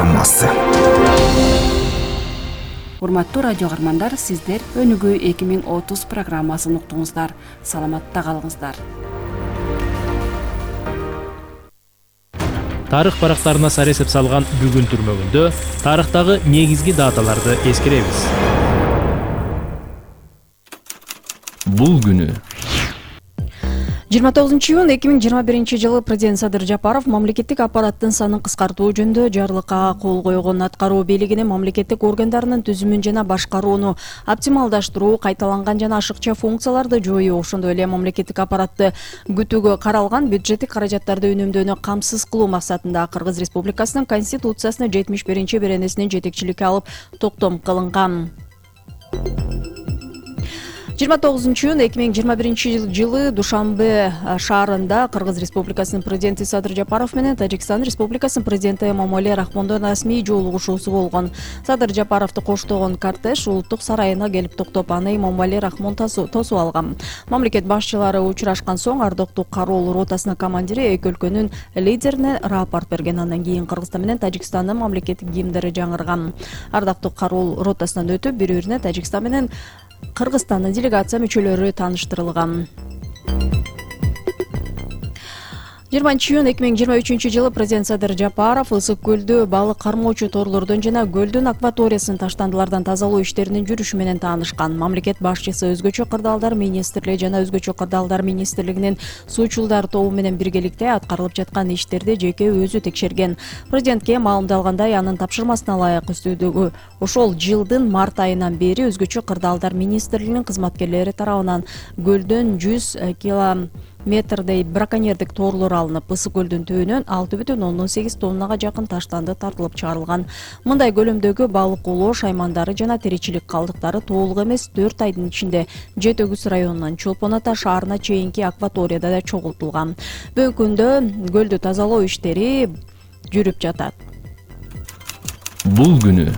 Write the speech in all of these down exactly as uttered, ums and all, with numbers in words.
программасы. Урматтуу радио каармандар, сиздер өнүгүү эки миң отуз программасын уктуңуздар. Саламатта калыңыздар. Тарых барактарына сар эсеп салган бүгүн түрмөгүндө тарыхтагы негизги даталарды эскеребиз. Бул күнү жыйырма тогузунчу июнь эки миң жыйырма биринчи жылы президент Садыр Жапаров мамлекеттик аппараттын санын кыскартуу жөнүндө жарлыкка кол койгон. Аткаруу бийлигине мамлекеттик органдарынын түзүмүн жана башкарууну оптималдаштыруу, кайталанган жана ашыкча функцияларды жоюу, ошондой эле мамлекеттик аппаратты күтүүгө каралган бюджеттик каражаттарды үнөмдөөнү камсыз кылуу максатында Кыргыз Республикасынын Конституциясынын жетимиш биринчи беренесинин жетекчиликке алып токтом кылынган. жыйырма тогузунчу июнь эки миң жыйырма биринчи жылы Душанбе шаарында Кыргыз Республикасынын президенти Садыр Жапаров менен Тажикстан Республикасынын президенти Эмомали Рахмондун расмий жолугушуусу болгон. Садыр Жапаровду коштогон кортеж улуттук сарайына келип токтоп, аны Эмомали Рахмон тосуп алган. Мамлекет башчылары учурашкан соң ардоктуу кароол ротасынын командири эки өлкөнүн лидерине рапорт берген. Андан кийин Кыргызстан менен Тажикстандын мамлекеттик гимндери жаңырган. Ардоктуу кароол ротасынан өтүп, бири-бирине Тажикстан менен Кыргызстандын делегация мүчөлөрү тааныштырылган. жыйырманчы июнь эки миң жыйырма үчүнчү жылы президент Садыр Жапаров ысык көлдү балык кармоочу торлордон жана көлдүн акваториясын таштандылардан тазалоо иштеринин жүрүшү менен таанышкан. Мамлекет башчысы өзгөчө кырдаалдар министрлиги жана өзгөчө кырдаалдар министрлигинин суучулдар тобу менен биргеликте аткарылып жаткан иштерди жеке өзү текшерген. Президентке маалымдалгандай, анын тапшырмасына ылайык үстүдөгү ошол жылдын март айынан бери өзгөчө кырдаалдар министрлигинин кызматкерлери тарабынан көлдөн жүз километр метрдей браконьердик торлор алынып, ысык көлдүн түбүнөн алты бүтүн ондон сегиз тоннага жакын таштанды тартылып чыгарылган. Мындай көлөмдөгү балык улоо шаймандары жана теричилик калдыктары толук эмес төрт айдын ичинде Жети Өгүз районунан Чолпон Ата шаарына чейинки акваторияда да чогултулган. Бүгүнкү күндө көлдү тазалоо иштери жүрүп жатат. Бул күнү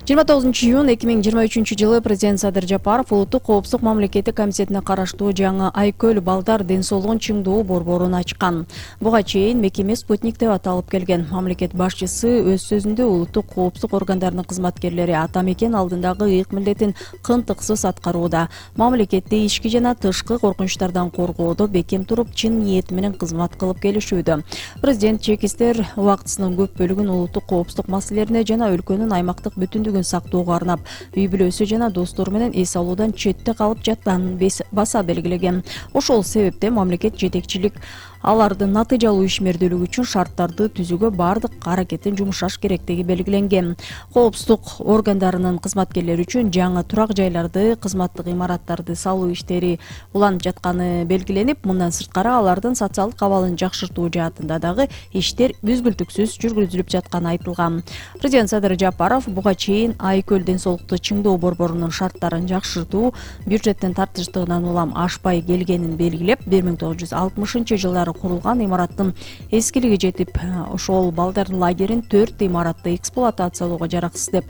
жыйырма тогузунчу июнь эки миң жыйырма үчүнчү жылы президент Садыр Жапаров Улуттук коопсуздук мамлекеттик комитетине караштуу жаңы Айкөл балдар ден соолугун чыңдоо борборун ачкан. Буга чейин мекеме Спутник деп аталып келген. Мамлекет башчысы өз сөзүндө улуттук коопсуздук органдарынын кызматкерлери ата мекен алдындагы ыйык милдетин кынтыксыз аткарууда, мамлекетти ички жана тышкы коркунучтардан коргоодо бекем туруп, чын ниети менен кызмат кылып келишүүдө. Президент чекистер убактысынын көп бөлүгүн улуттук коопсуздук маселелерине жана өлкөнүн аймактык бүтүндүгүн сактоого арнап, үй бүлөсү жана достору менен эс алуудан четте калып жатканын баса белгилеген. Ошол себептен мамлекет жетекчилик алардын натыйжалуу ишмердүүлүгү үчүн шарттарды түзүүгө бардык аракетин жумшаш керектиги белгиленген. Коопсуздук органдарынын кызматкерлери үчүн жаңы турак жайларды, кызматтык имараттарды салуу иштери уланып жатканы белгиленип, мындан сырткары алардын социалдык абалын жакшыртуу жаатында дагы иштер үзгүлтүксүз жүргүзүлүп жатканы айтылган. Президент Садыр Жапаров буга чейин Айкөл ден соолукту чыңдоо борборунун шарттарын жакшыртуу бюджеттин тартыштыгынан улам ашпай келгенин белгилеп, бир миң тогуз жүз алтымышынчы жылдары курулган имараттын эскилиги жетип, ошол балдар лагерин төрт имаратты эксплуатациялоого жараксыз деп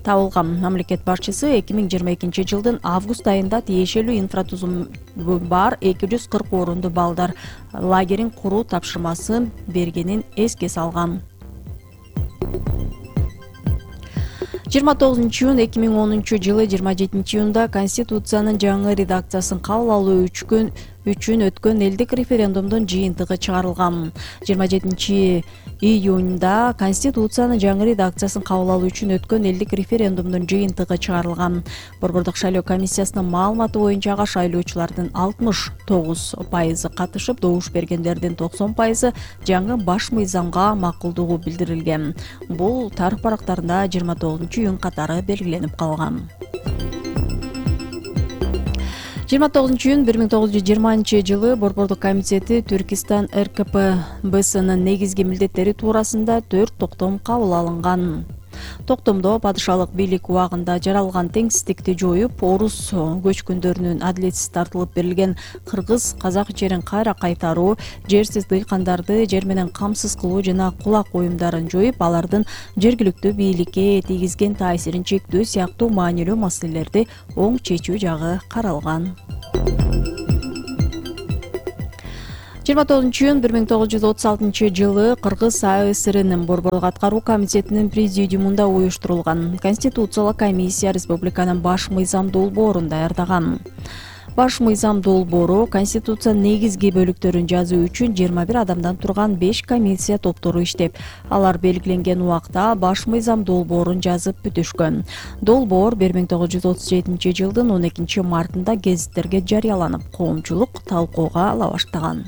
табылган. Мамлекет башчысы эки миң жыйырма экинчи жылдын август айында тиешелүү инфратузуму бар эки жүз кырк орунду балдар лагерин куруу тапшырмасын бергенин эске салган. жыйырма тогузунчу июнь эки миң онунчу жылы жыйырма жетинчи июнда Конституциянын жаңы редакциясын кабыл алуу үчүн өткөн элдик референдумдун жыйынтыгы чыгарылган. жыйырма жетинчи июнда Конституциянын жаңы редакциясын кабыл алуу үчүн өткөн элдик референдумдун жыйынтыгы чыгарылган. Борбордук шайлоо комиссиясынын маалыматы боюнча ага шайлоочулардын алтымыш тогуз пайызы катышып, добуш бергендердин токсон пайызы жаңы баш мыйзамга макулдугу билдирилген. Бул тарых барактарында жыйырма тогузунчу июнь катары белгиленип калган. жыйырма тогузунчу июнь бир миң тогуз жүз жыйырманчы жылы Борбордук комитети Түркистан эр ка пэ бсынын негизги милдеттери туурасында төрт токтом кабыл алынган. Токтомдо падышалык бийлик убагында жаралган теңсиздикти жоюп, орус көчкүндөрүнүн адилетсиз тартылып берилген кыргыз казак жерин кайра кайтаруу, жерсиз дыйкандарды жер менен камсыз кылуу жана кулак оюмдарын жоюп, алардын жергиликтүү бийликке тийгизген таасирин чектөө сыяктуу маанилүү маселелерди оң чечүү жагы каралган. жыйырма тогузунчу июнь бир миң тогуз жүз отуз алтынчы жылы Кыргыз А С Рнин Борбордук аткаруу комитетинин президиумунда уюштурулган Конституциялык комиссия республиканын баш мыйзам долбоорун даярдаган. Баш мыйзам долбоору Конституциянын негизги бөлүктөрүн жазуу үчүн жыйырма бир адамдан турган беш комиссия топтору иштеп, алар белгиленген убакта баш мыйзам долбоорун жазып бүтүшкөн. Долбоор бир миң тогуз жүз отуз жетинчи жылдын он экинчи мартында гезиттерге жарыяланып, коомчулук талкууга ала баштаган.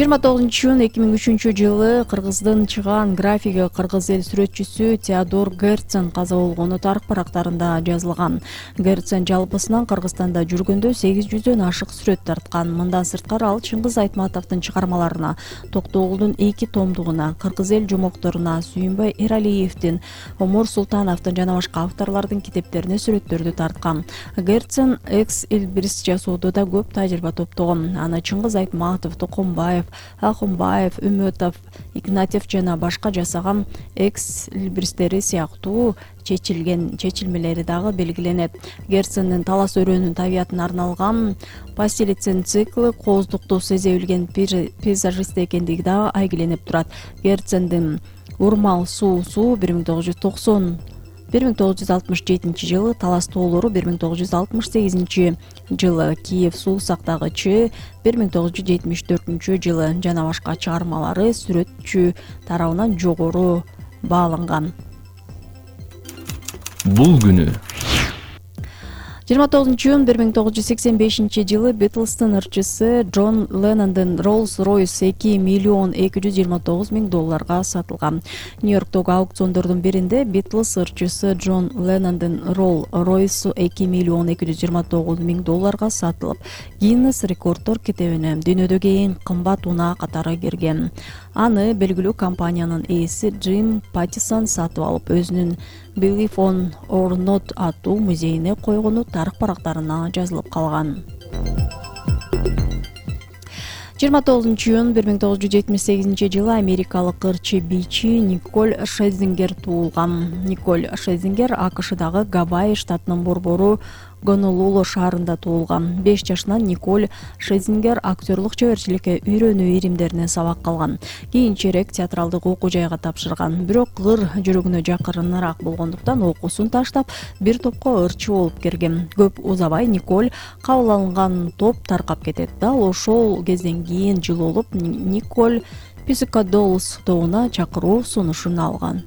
жыйырма тогузунчу июнь эки миң үчүнчү жылы Кыргыздын чыгаан графиги кыргыз эл сүрөтчүсү Теодор Герцен каза болгону тарых барактарында жазылган. Герцен жалпысынан Кыргызстанда жүргөндө сегиз жүздөн ашык сүрөт тарткан. Мындан сырткары ал Чыңгыз Айтматовдун чыгармаларына, Токтогулдун эки томдугуна, Кыргыз эл жомокторуна, Сүйүнбай Эралиевдин, Омур Султановдун жана башка авторлордун китептерине сүрөттөрдү тарткан. Герцен экс Элбирис жасоодо да көп тажрыйба топтогон. Аны Чыңгыз Айтматов, Токомбаев, Акунбаев, Үмөтов, Игнатьев жана башка жасаган экс Элбиристери сыяктуу чечилген чечилмелери дагы белгиленет. Герцендин талас өрөөнүн табиятына арналган Пастелицин циклы кооздукту сезе билген пейзажист экендиги дагы айгиленип турат. Герцендин Урмал суу суу бир миң тогуз жүз токсон бир миң тогуз жүз алтымыш жетинчи жылы, Талас тоолору бир миң тогуз жүз алтымыш сегизинчи жылы, Киев суу сактагычы бир миң тогуз жүз жетимиш төртүнчү жылы жана башка чыгармалары сүрөтчү тарабынан жогору бааланган. Бул күнү жыйырма тогузунчу июнь бир миң тогуз жүз сексен бешинчи жылы Битлстын ырчысы Джон Леннондун Rolls-Royce эки миллион эки жүз жыйырма тогуз миң долларга сатылган. Нью-Йорктогу аукциондордун биринде Битлс ырчысы Джон Леннондун Rolls-Royce эки миллион эки жүз жыйырма тогуз миң долларга сатылып, Гиннес рекорддор китебине дүйнөдөгү эң кымбат унаа катары кирген. Аны белгилүү компаниянын ээси Джим Паттисон сатып алып, өзүнүн Believe on or Not аттуу музейине койгону тарых барактарына жазылып калган. жыйырма тогузунчу июнь бир миң тогуз жүз жетимиш сегизинчи жылы америкалык ырчы бийчи Николь Шезингер туулган. Николь Шезингер АКШдагы Гавайи штатынын борбору Гонолулу шаарында туулган. беш жашынан Николь Шезингер актерлук чеберчиликке үйрөнүү иримдеринен сабак алган. Кийинчерээк театралдык окуу жайга тапшырган. Бирок ыр жүрөгүнө жакырыныраак болгондуктан окуусун таштап, бир топко ырчы болуп кирген. Көп узабай Николь кабыл алынган топ таркап кетет. Дал ошол кезден кийин жыл болуп Николь Pussycat тобуна чакыруу сунушун алган.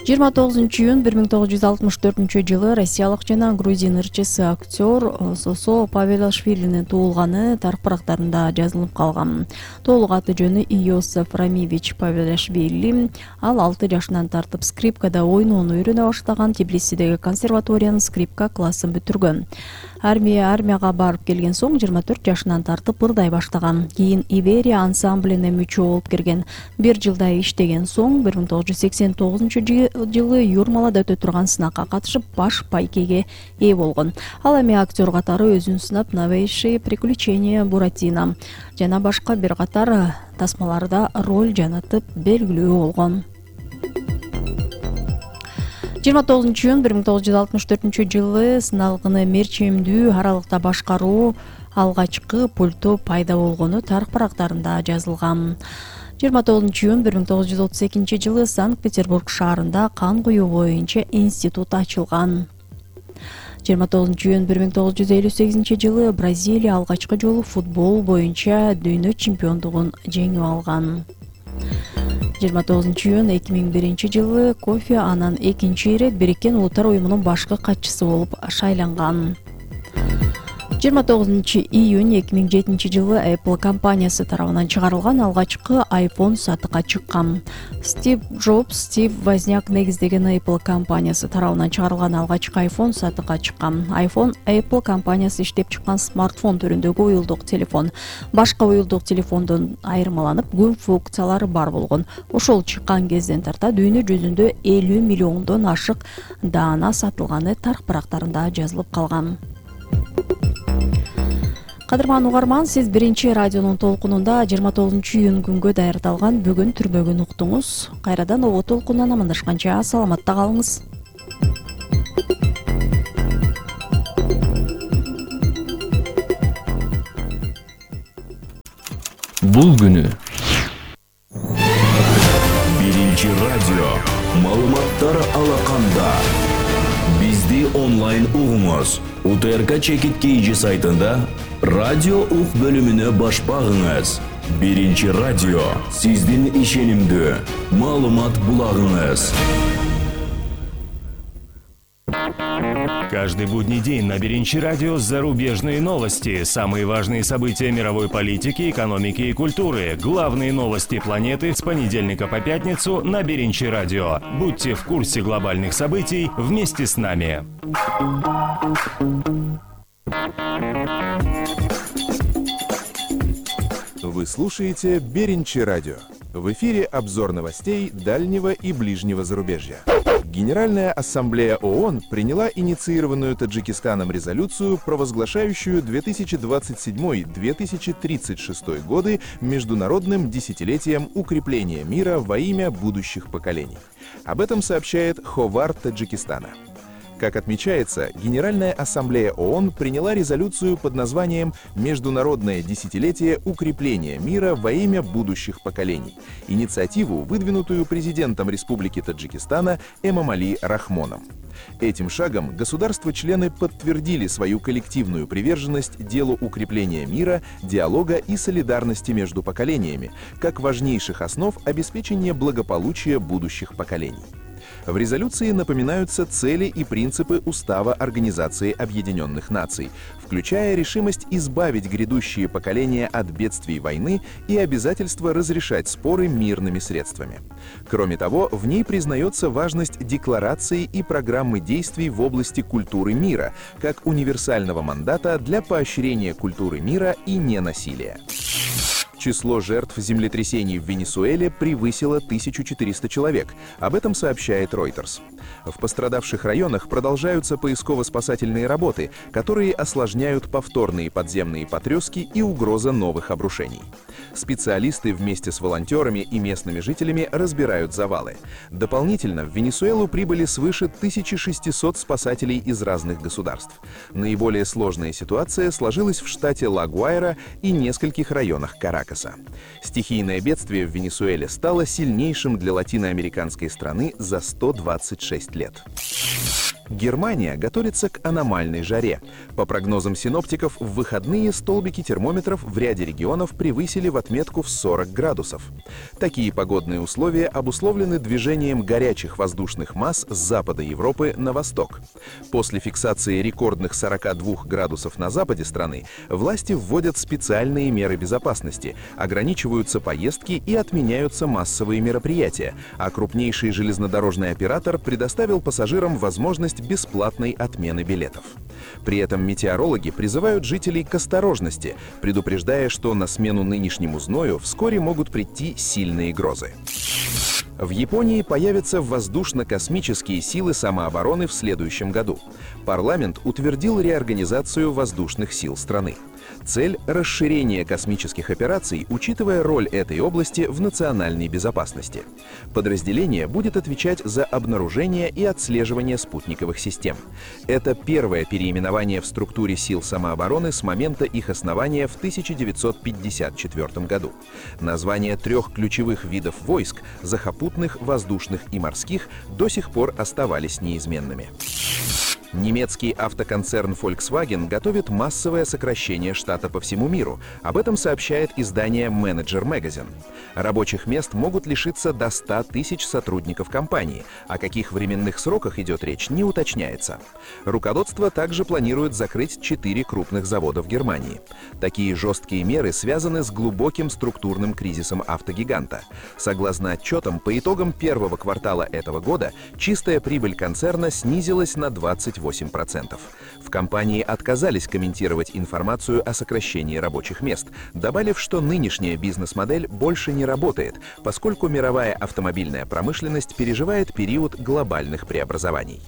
жыйырма тогузунчу июнь бир миң тогуз жүз алтымыш төртүнчү жылы россиялык жана грузин ырчысы актер Сосо Павелашвилинин туулганы тарых барактарында жазылып калган. Толук аты жөнү Иосиф Рамивич Павелашвили. Ал алты жашынан тартып скрипкада ойноону үйрөнө баштаган, Тбилисидеги консерваториянын скрипка классын бүтүргөн. Армия армияга барып келген соң жыйырма төрт жашынан тартып ырдай баштаган. Кийин Иверия ансамблине мүчө болуп кирген. Бир жылдай иштеген соң бир миң тогуз жүз сексен тогузунчу жылы Юрмалада өтө турган сынакка катышып, баш байкеге ээ болгон. Ал эми актер катары өзүн сынап Новейшие приключения Буратино жана башка бир катар тасмаларда роль жанатып белгилүү болгон. жыйырма тогузунчу июнь бир миң тогуз жүз алтымыш төртүнчү жылы сыналгыны мерчемдүү аралыкта башкаруу алгачкы пульту пайда болгону тарых барактарында жазылган. жыйырма тогузунчу июнь бир миң тогуз жүз отуз экинчи жылы Санкт-Петербург шаарында кан куюу боюнча институт ачылган. жыйырма тогузунчу июнь бир миң тогуз жүз элүү сегизинчи жылы Бразилия алгачкы жолу футбол боюнча дүйнө чемпиондугун жеңип алган. жыйырма тогузунчу июнь эки миң биринчи жылы Кофи Аннан экинчи ирет Бириккен Улуттар уюмунун башкы катчысы болуп шайланган. жыйырма тогузунчу июнь эки миң жетинчи жылы Apple компаниясы тарабынан чыгарылган алгачкы iPhone сатыкка чыккан. Стив Джобс, Стив Возняк негиздеген Apple компаниясы тарабынан чыгарылган алгачкы iPhone сатыкка чыккан. iPhone Apple компаниясы иштеп чыккан смартфон түрүндөгү уюлдук телефон. Башка уюлдук телефондон айырмаланып, көп функциялары бар болгон. Ошол чыккан кезден тарта дүйнө жүзүндө элүү миллиондон ашык даана сатылганы тарых барактарында жазылып калган. Кадырман угарман, сиз биринчи радионун толкунунда жыйырма тогузунчу июнь күнгө даярдалган бүгүн түрмөгүн уктуңуз. Кайрадан ого толкундан амандашканча саламатта калыңыз. бул күнү. Биринчи радио маалыматтар алаканда. Бизди онлайн угуңуз. УТРК Чекит Кейжи сайтында радио ук бөлүмүнө баш багыңыз. Биринчи радио сиздин ишенимдүү маалымат булагыңыз. Каждый будний день на Биринчи радио зарубежные новости, самые важные события мировой политики, экономики и культуры, главные новости планеты с понедельника по пятницу на Биринчи радио. Будьте в курсе глобальных событий вместе с нами. Вы слушаете Биринчи радио. В эфире обзор новостей дальнего и ближнего зарубежья. Генеральная ассамблея ООН приняла инициированную Таджикистаном резолюцию, провозглашающую две тысячи двадцать седьмой — две тысячи тридцать шестой годы международным десятилетием укрепления мира во имя будущих поколений. Об этом сообщает Ховар Таджикистана. Как отмечается, Генеральная ассамблея ООН приняла резолюцию под названием «Международное десятилетие укрепления мира во имя будущих поколений», инициативу, выдвинутую президентом Республики Таджикистана Эмомали Рахмоном. Этим шагом государства-члены подтвердили свою коллективную приверженность делу укрепления мира, диалога и солидарности между поколениями, как важнейших основ обеспечения благополучия будущих поколений. В резолюции напоминаются цели и принципы Устава Организации Объединенных Наций, включая решимость избавить грядущие поколения от бедствий войны и обязательство разрешать споры мирными средствами. Кроме того, в ней признается важность декларации и программы действий в области культуры мира, как универсального мандата для поощрения культуры мира и ненасилия. Число жертв землетрясений в Венесуэле превысило тысячу четыреста человек. Об этом сообщает Reuters. В пострадавших районах продолжаются поисково-спасательные работы, которые осложняют повторные подземные потрёски и угроза новых обрушений. Специалисты вместе с волонтерами и местными жителями разбирают завалы. Дополнительно в Венесуэлу прибыли свыше тысячи шестисот спасателей из разных государств. Наиболее сложная ситуация сложилась в штате Ла-Гуайра и нескольких районах Каракаса. Стихийное бедствие в Венесуэле стало сильнейшим для латиноамериканской страны за сто двадцать шесть лет. Германия готовится к аномальной жаре. По прогнозам синоптиков, в выходные столбики термометров в ряде регионов превысили в отметку в сорок градусов. Такие погодные условия обусловлены движением горячих воздушных масс с запада Европы на восток. После фиксации рекордных сорока двух градусов на западе страны, власти вводят специальные меры безопасности, ограничиваются поездки и отменяются массовые мероприятия, а крупнейший железнодорожный оператор предоставил пассажирам возможность бесплатной отмены билетов. При этом метеорологи призывают жителей к осторожности, предупреждая, что на смену нынешнему зною вскоре могут прийти сильные грозы. В Японии появятся воздушно-космические силы самообороны в следующем году. Парламент утвердил реорганизацию воздушных сил страны. Цель – расширение космических операций, учитывая роль этой области в национальной безопасности. Подразделение будет отвечать за обнаружение и отслеживание спутниковых систем. Это первое переименование в структуре сил самообороны с момента их основания в тысяча девятьсот пятьдесят четвёртом году. Названия трех ключевых видов войск – сухопутных, воздушных и морских – до сих пор оставались неизменными. Немецкий автоконцерн Volkswagen готовит массовое сокращение штата по всему миру. Об этом сообщает издание Manager Magazine. Рабочих мест могут лишиться до ста тысяч сотрудников компании. О каких временных сроках идет речь, не уточняется. Руководство также планирует закрыть четыре крупных завода в Германии. Такие жесткие меры связаны с глубоким структурным кризисом автогиганта. Согласно отчетам, по итогам первого квартала этого года чистая прибыль концерна снизилась на двадцать восемь процентов. В компании отказались комментировать информацию о сокращении рабочих мест, добавив, что нынешняя бизнес-модель больше не работает, поскольку мировая автомобильная промышленность переживает период глобальных преобразований.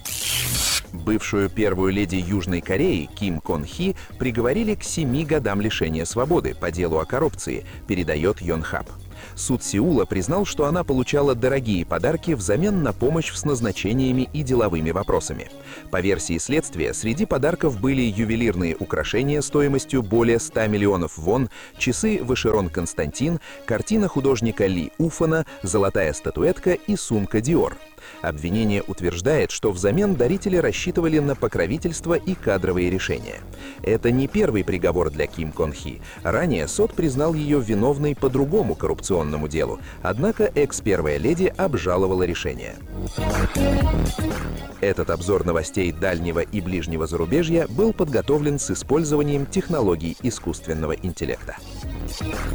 Бывшую первую леди Южной Кореи Ким Кон Хи приговорили к семи годам лишения свободы по делу о коррупции, передает Йонхап. Суд Сеула признал, что она получала дорогие подарки взамен на помощь с назначениями и деловыми вопросами. По версии следствия, среди подарков были ювелирные украшения стоимостью более ста миллионов вон, часы Vacheron Константин, картина художника Ли Уфана, золотая статуэтка и сумка Dior. Обвинение утверждает, что взамен дарители рассчитывали на покровительство и кадровые решения. Это не первый приговор для Ким Кон Хи. Ранее суд признал ее виновной по другому коррупционному делу, однако экс-первая леди обжаловала решение. Этот обзор новостей дальнего и ближнего зарубежья был подготовлен с использованием технологий искусственного интеллекта.